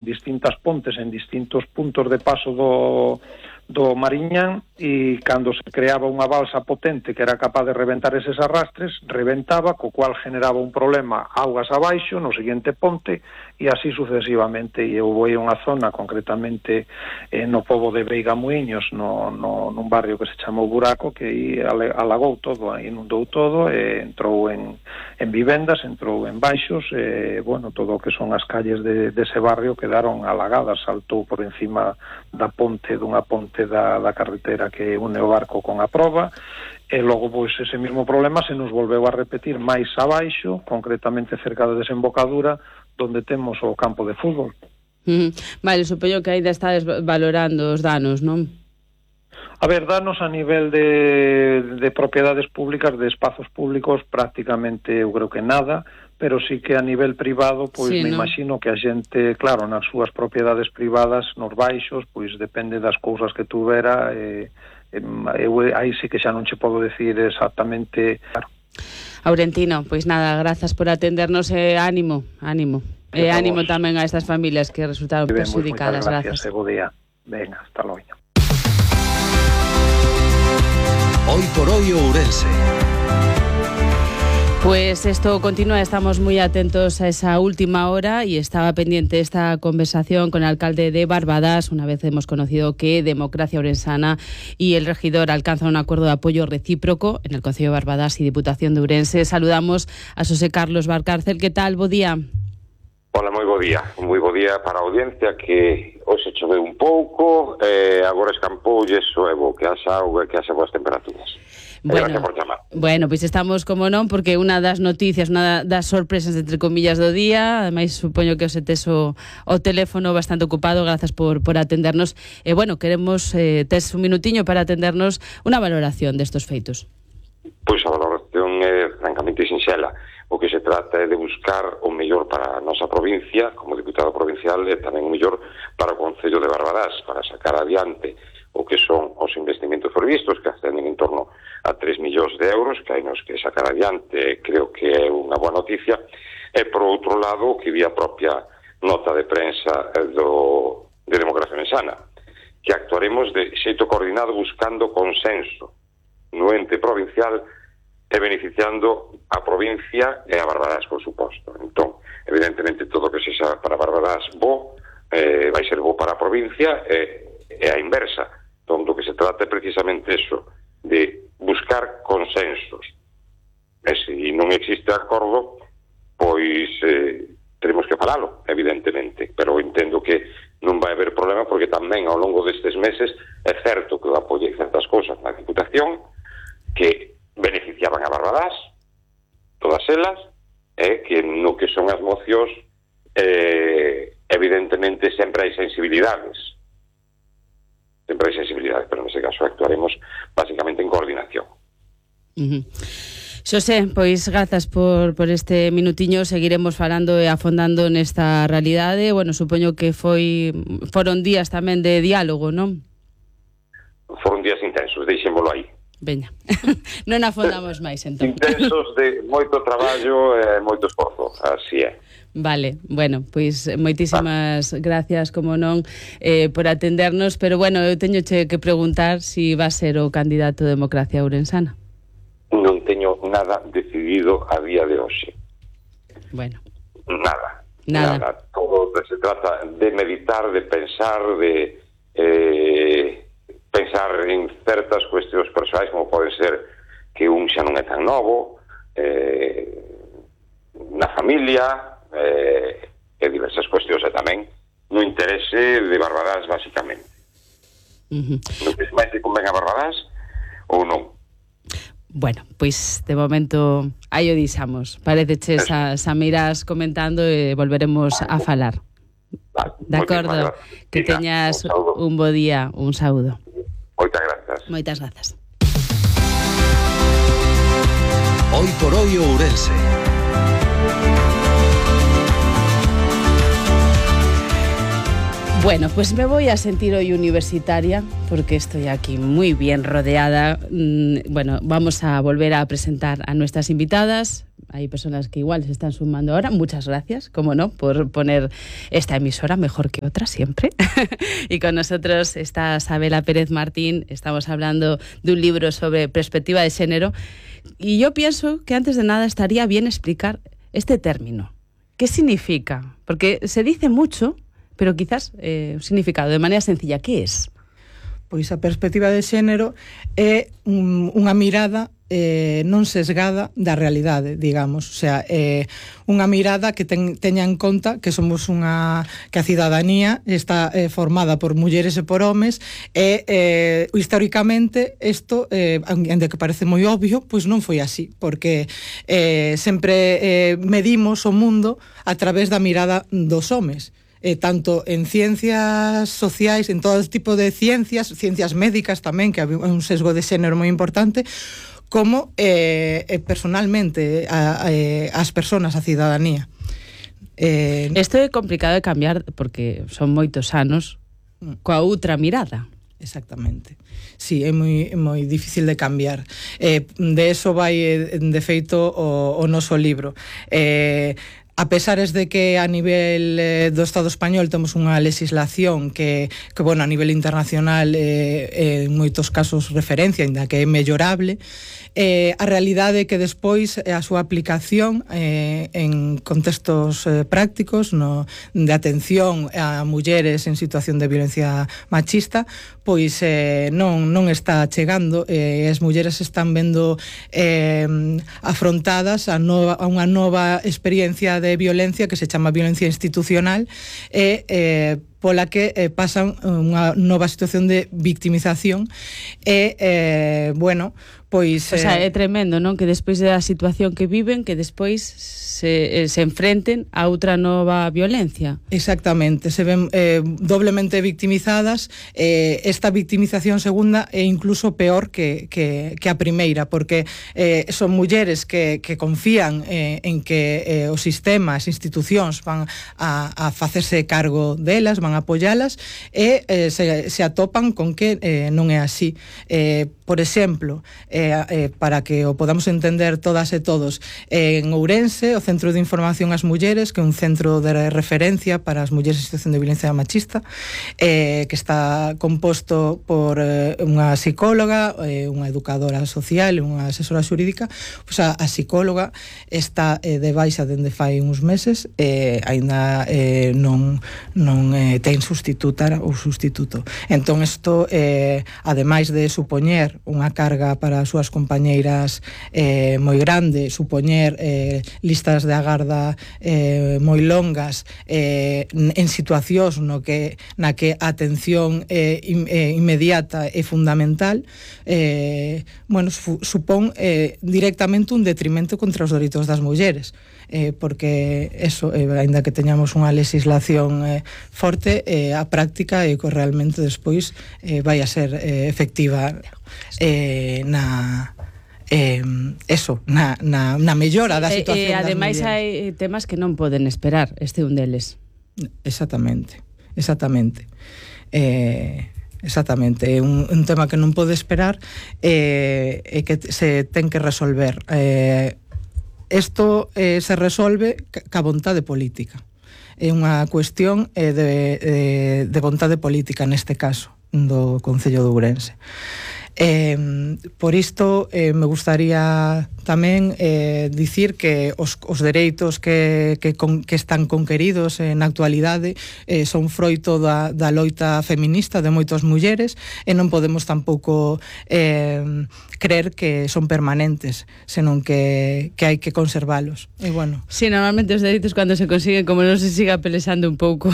distintas pontes en distintos puntos de paso do Mariñán, e cando se creaba unha balsa potente que era capaz de reventar eses arrastres, reventaba, co cual generaba un problema augas abaixo no seguinte ponte, e así sucesivamente. E eu vou a unha zona, concretamente no pobo de Veiga Muiños, nun barrio que se chamou Buraco, que aí alagou todo, inundou todo, entrou en vivendas, entrou en baixos, bueno, todo o que son as calles dese barrio quedaron alagadas, saltou por encima dunha ponte da carretera que une o barco con a proba, e logo pois ese mismo problema se nos volveu a repetir máis abaixo, concretamente cerca da desembocadura, donde temos o campo de fútbol. Vale, supoño que ainda estades valorando os danos, non? A ver, danos a nivel de propiedades públicas, de espazos públicos, prácticamente eu creo que nada, pero sí que a nivel privado, pois sí, me imagino que a xente, claro, nas súas propiedades privadas, nos baixos, pois depende das cousas que tuvera, aí sí que xa non che podo decir exactamente. Aurentino, pois nada, grazas por atendernos, ánimo. E ánimo tamén a estas familias que resultaron perjudicadas. Gracias, bo día. Venga, hasta logo. Hoy por hoy Ourense. Pues esto continúa, estamos muy atentos a esa última hora y estaba pendiente esta conversación con el alcalde de Barbadas. Una vez hemos conocido que Democracia Ourensana y el regidor alcanzan un acuerdo de apoyo recíproco en el Concello de Barbadas y Diputación de Ourense. Saludamos a Xosé Carlos Valcárcel. ¿Qué tal? Bo día. Hola, moi bo día para a audiencia, que hoxe choveu un pouco, agora escampoulle soebo, que haxa auga, que haxa boas temperaturas. Gracias por chamar. Bueno, pois estamos, como non, porque unha das noticias, unha das sorpresas, entre comillas, do día, ademais supoño que os tes o teléfono bastante ocupado, grazas por atendernos, e bueno, queremos, tes un minutiño para atendernos unha valoración destos feitos. Pois a valoración é francamente sinxela. O que se trata é de buscar o mellor para a nosa provincia, como diputado provincial, e tamén o mellor para o Concello de Barbadas, para sacar adiante o que son os investimentos previstos, que ascenden en torno a 3 millóns de euros, que hai nos que sacar adiante, creo que é unha boa noticia. E, por outro lado, que vi a propia nota de prensa de Democracia Ourensana, que actuaremos de xeito coordinado buscando consenso no ente provincial e beneficiando a provincia e a Barbadas, por suposto. Entón, evidentemente, todo o que sexa para Barbadas vai ser bo para a provincia e a inversa. Entón, do que se trata é precisamente eso, de buscar consensos. E se non existe acordo, pois teremos que falalo, evidentemente, pero entendo que non vai haber problema, porque tamén ao longo destes meses é certo que eu apoiei certas cousas na Diputación que beneficiaban a Barbadas, todas elas, e que no que son as mocións evidentemente sempre hai sensibilidades, pero nese caso actuaremos basicamente en coordinación. Xosé, pois grazas por este minutiño, seguiremos falando e afondando nesta realidade. Bueno, supoño que foron días tamén de diálogo, non? Foron días intensos, deixémolo aí. Veña, non afondamos máis, entón. Intensos de moito traballo e moito esforzo, así é. Vale, bueno, pois moitísimas gracias, como non, por atendernos, pero bueno, eu teño que preguntar si va a ser o candidato de Democracia Ourensana. Non teño nada decidido a día de hoxe. Bueno. Nada. Todo se trata de meditar, de pensar, de pensar en certas cuestións persoais, como pode ser que un xa non é tan novo, na familia, e diversas cuestións, e tamén no interese de Barbadas, basicamente. Non que máis que convén a Barbadas ou non? Bueno, pois de momento aí o deixamos. Pareceche xa me irás comentando e volveremos a falar. De acordo, que teñas un bo día, un saúdo. Moitas grazas. Hoy por hoy Ourense. Bueno, pues me voy a sentir hoy universitaria porque estoy aquí muy bien rodeada. Bueno, vamos a volver a presentar a nuestras invitadas. Hay personas que igual se están sumando ahora. Muchas gracias, como no, por poner esta emisora mejor que otra siempre. Y con nosotros está Sabela Pérez Martín. Estamos hablando de un libro sobre perspectiva de género. Y yo pienso que antes de nada estaría bien explicar este término. ¿Qué significa? Porque se dice mucho, pero quizás un significado de maneira sencilla. Que es? Pois a perspectiva de xénero é unha mirada non sesgada da realidade, digamos, o sea, unha mirada que teña en conta que somos que a cidadanía está formada por mulleres e por homes e históricamente isto, ainda que parece moi obvio, pois non foi así, porque sempre medimos o mundo a través da mirada dos homes. Tanto en ciencias sociais, en todo tipo de ciencias médicas tamén, que hai un sesgo de xénero moi importante, como personalmente as persoas, a cidadanía. Isto é complicado de cambiar porque son moitos anos coa outra mirada. Exactamente. Sí, é moi difícil de cambiar. De eso vai, de feito, o noso libro. A pesares de que a nivel do Estado español temos unha legislación que bueno, a nivel internacional en moitos casos referencia, ainda que é mellorable, a realidade é que despois a súa aplicación en contextos prácticos de atención a mulleres en situación de violencia machista, pois non está chegando, as mulleres están vendo afrontadas a unha nova experiencia de violencia que se chama violencia institucional pola que pasan unha nova situación de victimización bueno, pois... O sea, é tremendo, non? Que despois da situación que viven, que despois se enfrenten a outra nova violencia. Exactamente, se ven doblemente victimizadas. Esta victimización segunda é incluso peor que a primeira, porque son mulleres que confían en que o sistema, as institucións van a facerse cargo delas, van a apoialas, e se atopan con que non é así. Por exemplo, para que o podamos entender todas e todos, en Ourense, o Centro de Información ás Mulleres, que é un centro de referencia para as mulleres en situación de violencia machista, que está composto por unha psicóloga, unha educadora social e unha asesora xurídica. Pois a psicóloga está de baixa dende fai uns meses, aínda non ten sustituta ou sustituto. Entón, isto, ademais de supoñer unha carga para as súas compañeiras moi grande, supoñer listas de agarda moi longas en situacións na que a atención inmediata é fundamental, bueno, supón directamente un detrimento contra os dereitos das mulleres, porque eso, aínda que teñamos unha legislación forte, a práctica é que realmente despois vai a ser efectiva na mellora da situación das ademais mulleres. Hai temas que non poden esperar, este un deles. Exactamente. É un tema que non pode esperar e que se ten que resolver. Isto se resolve ca vontade política. É unha cuestión de vontade política neste caso do Concello de Ourense. Por isto me gustaría tamén dicir que os dereitos que están conqueridos na actualidade son froito da loita feminista de moitas mulleres e non podemos tampouco creer que son permanentes, senón que hai que conservalos. E bueno. Sí, normalmente os dereitos cando se consiguen, como non se siga pelexando un pouco,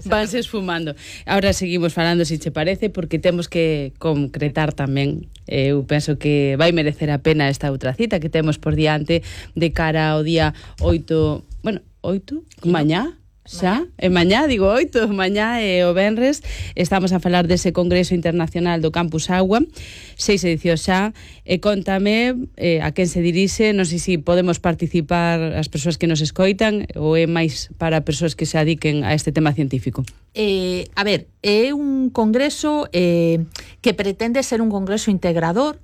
vanse esfumando. Ahora seguimos falando, se che parece, porque temos que concretar tamén. Eu penso que vai merecer a pena esta outra cita que temos por diante de cara ao día 8, bueno, 8, mañá, xa, e mañá, digo 8, mañá e o venres estamos a falar dese Congreso Internacional do Campus Agua, 6 edicións xa, e contame a quen se dirixe, non sei se podemos participar as persoas que nos escoitan ou é máis para persoas que se adiquen a este tema científico. a ver, é un congreso que pretende ser un congreso integrador,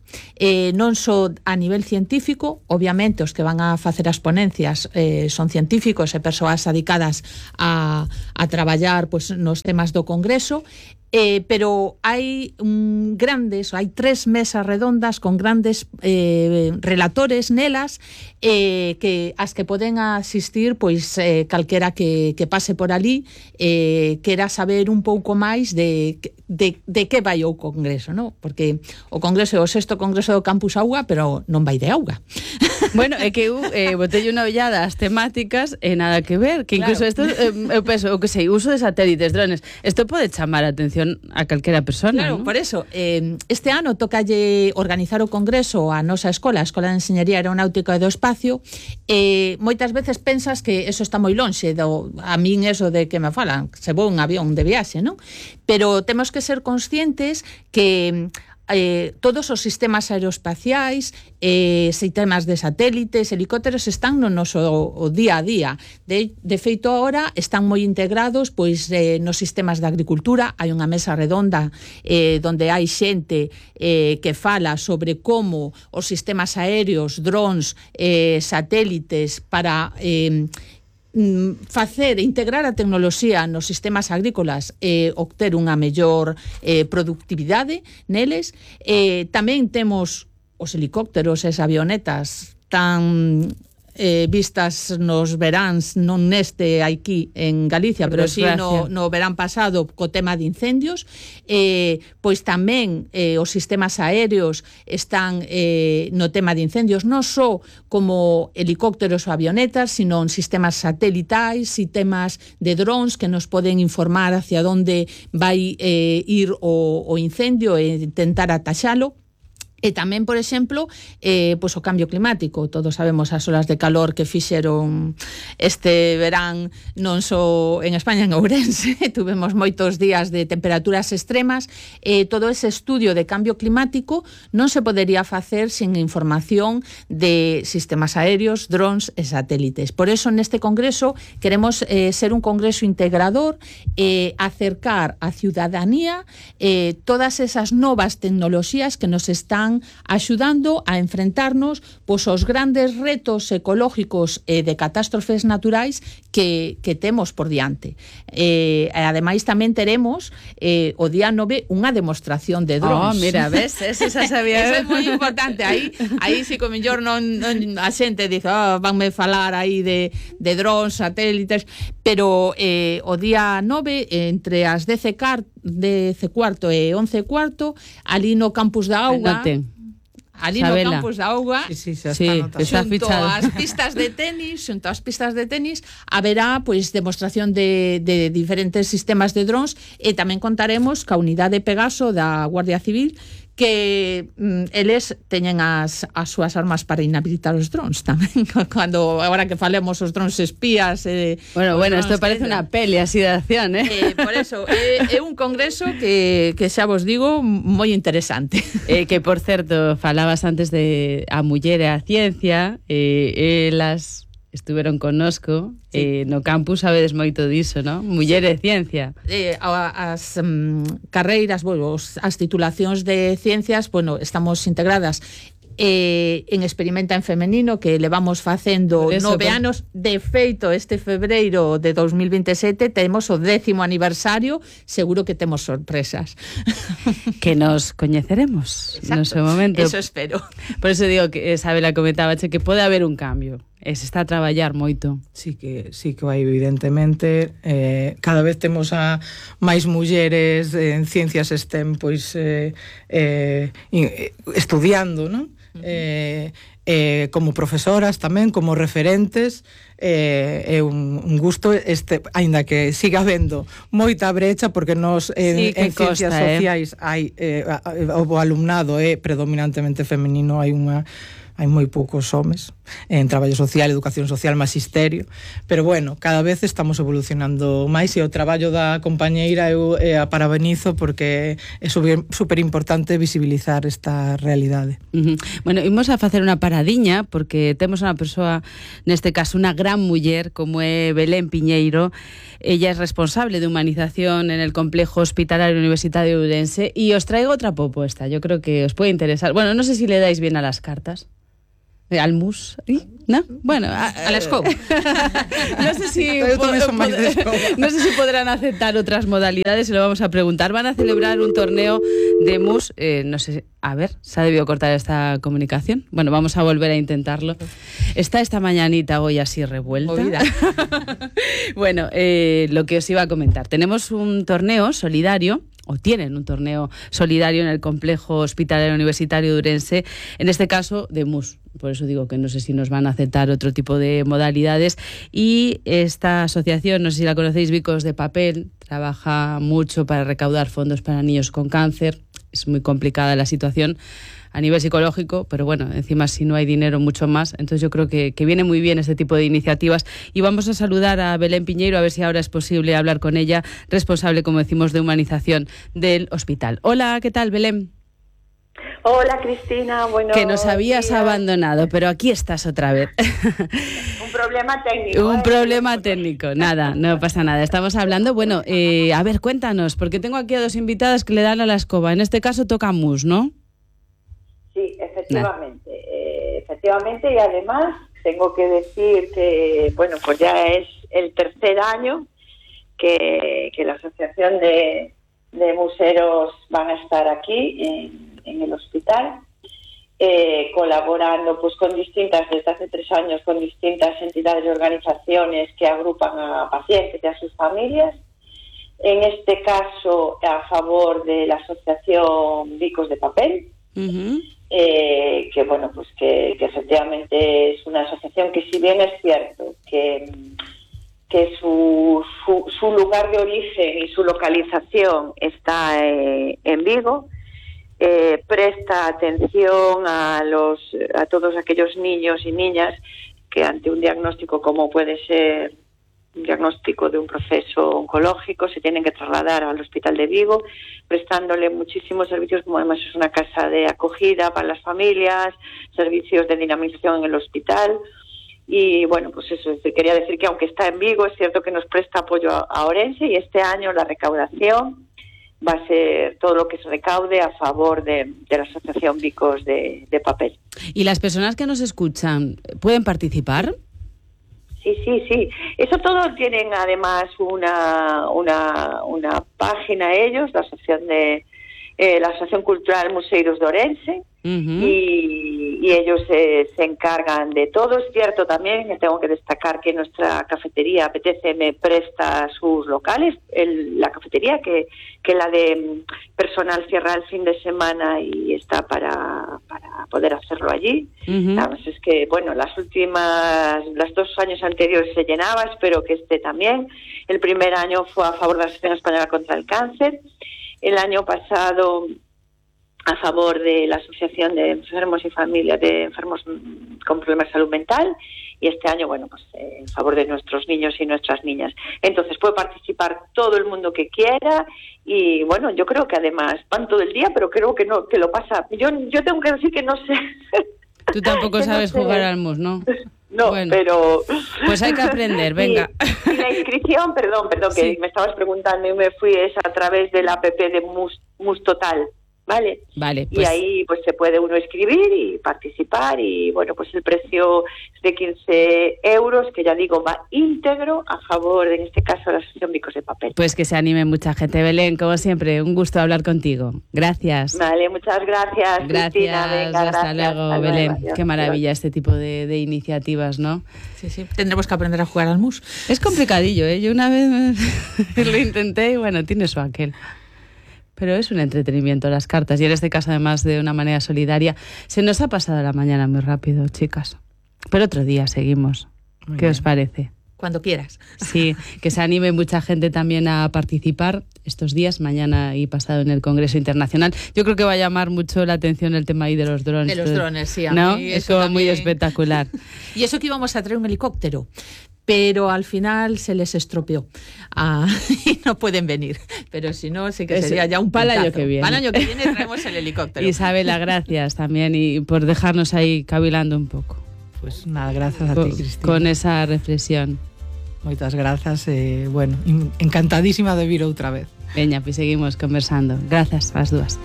non só a nivel científico, obviamente os que van a facer as ponencias son científicos e persoas dedicadas a traballar pues, nos temas do congreso, pero hai hai 3 mesas redondas con grandes relatores nelas que as que poden asistir pois calquera que pase por ali quera saber un pouco máis de que vai o congreso, ¿no? Porque o congreso é o 6º congreso do Campus Auga, pero non vai de auga. Bueno, é que eu botei unha ollada ás temáticas e nada que ver, que incluso isto, eu penso, o que sei, uso de satélites, drones, isto pode chamar a atención a calquera persona, claro, ¿no? Por eso, este ano tocalle organizar o congreso a nosa escola, a Escola de Enxeñería Aeronáutica e do Espacio, moitas veces pensas que eso está moi lonxe, a min eso de que me falan, se vou un avión de viaxe, non? Pero temos que ser conscientes que todos os sistemas aeroespaciais, sistemas de satélites, helicópteros están no noso día a día. De feito, agora están moi integrados pois nos sistemas de agricultura. Hai unha mesa redonda donde hai xente que fala sobre como os sistemas aéreos, drones, satélites para integrar a tecnoloxía nos sistemas agrícolas e obter unha mellor productividade neles. Tamén temos os helicópteros e as avionetas tan vistas nos veráns, non neste aquí en Galicia, pero si no verán pasado co tema de incendios, pois tamén os sistemas aéreos están no tema de incendios, non só como helicópteros ou avionetas, sino en sistemas satelitais, sistemas de drones que nos poden informar hacia onde vai ir o incendio e intentar ataxalo. E tamén, por exemplo, pois o cambio climático. Todos sabemos as olas de calor que fixeron este verán non só en España, en Ourense. Tuvemos moitos días de temperaturas extremas. Todo ese estudio de cambio climático non se podería facer sin información de sistemas aéreos, drones e satélites. Por eso, neste congreso, queremos ser un congreso integrador, acercar a ciudadanía todas esas novas tecnoloxías que nos están axudando a enfrentarnos pois aos grandes retos ecológicos e de catástrofes naturais que temos por diante. Ademais tamén teremos o día 9 unha demostración de drones. Mira, ves, eso xa sabía. Eso é moi importante. Aí si co mellor non a xente dice, vanme falar aí de drones, satélites, pero o día 9 entre as 10:15 e 11:15 ali no Campus da Auga. Ali Sabela. no Campus da Auga, está xunto ás pistas de tenis, haberá pois demostración de diferentes sistemas de drones e tamén contaremos ca unidade Pegaso da Guardia Civil que eles teñen as súas armas para inhabilitar os drones tamén. Cando agora que falemos os drones espías, bueno, isto parece unha peli así de acción, por eso é un congreso que xa vos digo moi interesante. Que por certo, falabas antes de a muller e a ciencia, elas estuveron connosco, no campus sabedes moito diso, ¿no? Muller e ciencia. As carreiras, as titulacións de ciencias, estamos integradas en Experimenta en Femenino, que levamos facendo 9 anos. De feito, este febreiro de 2027 temos o 10º aniversario, seguro que temos sorpresas. Que nos coñeceremos no seu momento. Eso espero. Por eso digo que Isabela comentaba que pode haber un cambio. Se está a traballar moito. Sí que vai, evidentemente. Cada vez temos a máis mulleres en ciencias STEM pois estudiando, non? Como profesoras tamén, como referentes. É un gusto, aínda que siga habendo moita brecha, porque nos en ciencias sociais hai o alumnado é predominantemente femenino, hai unha hai moi poucos homes en traballo social, educación social, magisterio, pero bueno, cada vez estamos evolucionando máis e o traballo da compañeira eu a parabenizo porque é super importante visibilizar esta realidade. Bueno, imos a facer unha paradiña porque temos unha persoa, neste caso unha gran muller como é Belén Piñeiro. Ella es responsable de humanización en el complejo hospitalario universitario de Ourense y os traigo otra propuesta, yo creo que os puede interesar. Bueno, no sé si le dais bien a las cartas. Al mus, ¿no? Bueno, a la escoba. No sé si podrán aceptar otras modalidades, se lo vamos a preguntar. Van a celebrar un torneo de mus, no sé, a ver, se ha debido cortar esta comunicación. Bueno, vamos a volver a intentarlo. Está esta mañanita hoy así revuelta. Bueno, lo que os iba a comentar. Tenemos un torneo solidario, o tienen un torneo solidario en el complejo hospitalario universitario de Ourense, en este caso de mus. Por eso digo que no sé si nos van a aceptar otro tipo de modalidades. Y esta asociación, no sé si la conocéis, Bicos de Papel, trabaja mucho para recaudar fondos para niños con cáncer. Es muy complicada la situación a nivel psicológico, pero bueno, encima si no hay dinero, mucho más. Entonces yo creo que viene muy bien este tipo de iniciativas. Y vamos a saludar a Belén Piñeiro, a ver si ahora es posible hablar con ella, responsable, como decimos, de humanización del hospital. Hola, ¿qué tal, Belén? Hola, Cristina. Bueno, que nos habías abandonado, pero aquí estás otra vez. Un problema técnico. Un problema técnico. Nada, no pasa nada. Estamos hablando, bueno, a ver, cuéntanos, porque tengo aquí a dos invitadas que le dan a la escoba. En este caso toca mus, ¿no? Sí, efectivamente. Efectivamente, y además tengo que decir que, bueno, pues ya es el tercer año que la Asociación de Museros van a estar aquí en el hospital, colaborando pues con distintas, desde hace 3 años, con distintas entidades y organizaciones que agrupan a pacientes y a sus familias. En este caso, a favor de la Asociación Bicos de Papel, que bueno, pues que efectivamente es una asociación que, si bien es cierto que su lugar de origen y su localización está en Vigo, presta atención a todos aquellos niños y niñas que ante un diagnóstico como puede ser un diagnóstico de un proceso oncológico se tienen que trasladar al Hospital de Vigo, prestándole muchísimos servicios, como además es una casa de acogida para las familias, servicios de dinamización en el hospital. Y bueno, pues eso, quería decir que aunque está en Vigo, es cierto que nos presta apoyo a Ourense, y este año la recaudación va a ser todo lo que se recaude a favor de la Asociación Bicos de Papel. ¿Y las personas que nos escuchan pueden participar? Sí. Eso todo tienen además una página ellos, la Asociación Cultural Museiros de Ourense, y ellos se encargan de todo. Es cierto también que tengo que destacar que nuestra cafetería PTCM presta sus locales, la cafetería que la de personal cierra el fin de semana y está para poder hacerlo allí. Además es que, bueno, las 2 años anteriores se llenaba, espero que este también. El primer año fue a favor de la Asociación Española contra el Cáncer, el año pasado a favor de la Asociación de Enfermos y Familias de Enfermos con Problemas de Salud Mental, y este año, bueno, pues en favor de nuestros niños y nuestras niñas. Entonces puede participar todo el mundo que quiera, y bueno, yo creo que además van todo el día, pero creo que no, que lo pasa. Yo tengo que decir que no sé. Tú tampoco sabes jugar al mus, ¿no? No, bueno, pero... Pues hay que aprender, venga. Y la inscripción, perdón, sí, que me estabas preguntando y me fui, es a través del app de Mus Total. Vale, pues... Y ahí pues se puede uno inscribir y participar, y bueno, pues el precio es de 15 euros, que ya digo, va íntegro a favor, en este caso, de la Asociación Bicos de Papel. Pues que se anime mucha gente. Belén, como siempre, un gusto hablar contigo. Gracias. Vale, muchas gracias. Cristina, venga, hasta luego, Belén. Adiós. Qué maravilla este tipo de iniciativas, ¿no? Sí, tendremos que aprender a jugar al mus. Es complicadillo, ¿eh? Yo una vez lo intenté y bueno, tiene su aquel. Pero es un entretenimiento las cartas, y en este caso además de una manera solidaria. Se nos ha pasado la mañana muy rápido, chicas, pero otro día seguimos. ¿Qué os parece? cuando quieras. Sí, que se anime mucha gente también a participar estos días, mañana y pasado, en el Congreso Internacional. Yo creo que va a llamar mucho la atención el tema ahí de los drones. De los drones, sí. ¿No? Es como también muy espectacular. Y eso que íbamos a traer un helicóptero, pero al final se les estropeó y no pueden venir. Pero si no, sí que sería ya un para el año que viene. Para el año que viene traemos el helicóptero. Isabela, gracias también y por dejarnos ahí cavilando un pouco. Pues nada, gracias a ti, Cristina. Con esa reflexión. Moitas grazas, bueno, encantadísima de vir outra vez. Veña, pues seguimos conversando. Grazas ás dúas.